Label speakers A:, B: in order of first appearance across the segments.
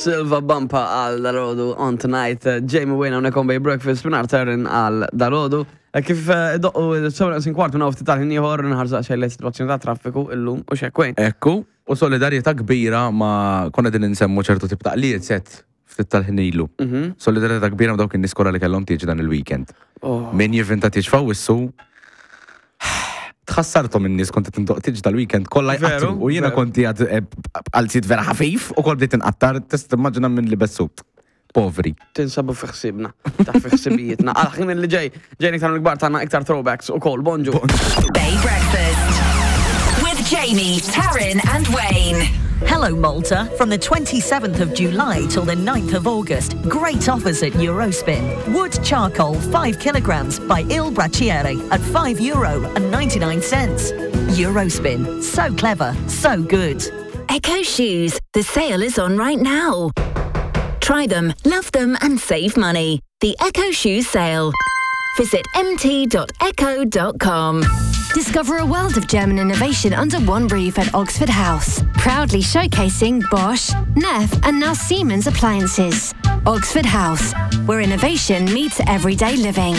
A: Silva Bumpa għal dalgħodu on tonight. Jamie Wayne hawnhekk on Bay Breakfast minn Taryn għal dalgħodu. Kif doqqu 7:15 minn ftit tal-ħin ieħor nħarsu xejn lejn sitwazzjoni ta' traffiku illum u xekk Wayne.
B: Ekku, u solidarjetà kbira ma konna din insemmu ċertu tip ta' qlijiet set ftit tal-ħin ilu. Solidarjetà kbira ma' dawk in-nies kollha li kellhom tieġ dan il-weekend.
A: Oh.
B: Min jivvinta tieġ f'Awwissu, tħassarthom in-nies kont qed indoqq tieġ dal-weekend kollha
A: Veru,
B: jqattru u jiena
A: veru.
B: kont qiegħed eh, b'qalziet vera ħafif u kol bdejt inqattar, tista' timmaġina minn libes sut. Povri.
A: Tinsabu fi ħsibna, ta' fi ħsibijietna. Għal ħin li ġej, ġejn iktar mill-kbar tagħna iktar throwbacks u kol, bonġu.
C: Bay Breakfast. With Jamie, Taryn, and Wayne.
D: Hello, Malta. From the 27th of July till the 9th of August, great offers at Eurospin. Wood charcoal 5 kilograms by Il Braciere at €5.99. Eurospin. So clever, so good.
C: Echo Shoes. The sale is on right now. Try them, love them, and save money. The Echo Shoe Sale. Visit mt.echo.com.
E: Discover a world of German innovation under one roof at Oxford House. Proudly showcasing Bosch, Neff, and now Siemens appliances. Oxford House, where innovation meets everyday living.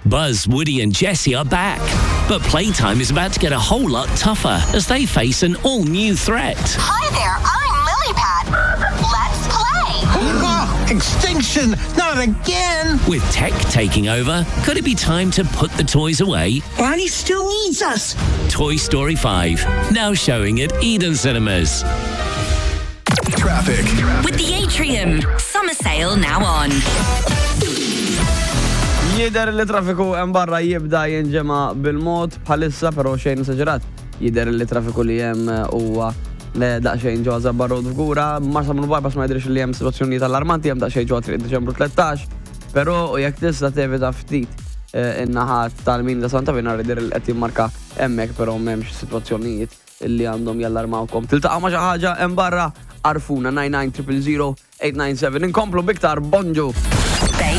F: Buzz, Woody, and Jesse are back. But playtime is about to get a whole lot tougher as they face an all new threat.
C: Hi there, I'm Lilypad. Let's play.
G: Extinction! Not again!
F: With tech taking over, could it be time to put the toys away?
G: Barney still needs us!
F: Toy Story 5, now showing at Eden Cinemas.
H: Traffic.
C: With the Atrium. Summer sale now on.
A: Jider li traffiku hemm barra jibda jinġema bil-mod bħalissa, però xejn esaġerat. Jider li traffiku li hemm huwa daqsxejn ġewwa Żabbar Road Fgura, Marsa Bypass ma jidhirx li hemm sitwazzjonijiet allarmanti, hemm daqsxejn ġewwa Triq Diċembru 13, però jekk tista' tevita ftit in-naħat tal-min ta' Santa Venera jidher li qed jimmarka hemmhekk, però m'hemmx sitwazzjonijiet li għandhom jallarmawkom. Tiltaqgħu ma' xi ħaġa hemm barra, għarrfuna 99 000 897. Inkomplu b'iktar bonġu.
C: Bay.